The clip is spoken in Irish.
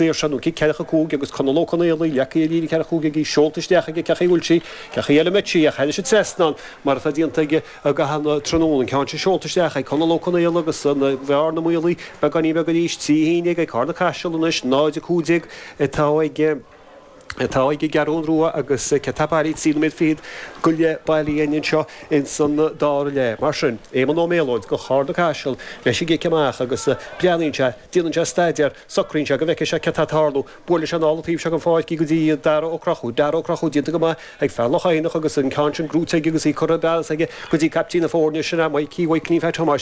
saor seo nó cic ceathracha 5 agus Conall Ó Conaola leagtha ar líne ceathracha 5 aige, seolta isteach aige, cén chaoi a bhfuil sí, cén chaoi eile a mbeidh sí ach thairis an trasnán mar atá déanta aige i gcaitheamh an tráthnóna. An ceann sin seolta isteach ag Conall Ó Conaola agus an bhearna maolaithe beagáinín beag arís, 3-11 ag Carna Caiseal anois, 0-15 atá ag. atá ag an gCeathrú Rua agus cé atá bailithe 3 nóiméad fichead go leith bailithe againn anseo ins an dara leath. Mar sin, Éamonn Ó Méalóid go Charna Caiseal leis an gcic amach agus breathnaíonn sé, déanann sé staidéar, socraíonn sé go bhfeicfidh sé cé atá ag tarlú. Buaileann sé anall an taobh seo den pháirc í go dtí Dara Ó Conchúir. Dara Ó Conchúir déanta go maith ag fear Loch Eidhneach agus an ceann sin gnóite aige agus í curtha i bpeas aige go dtí caiptín na foirne, sin é Mikey Mhaidhcilín Phat Thomáis.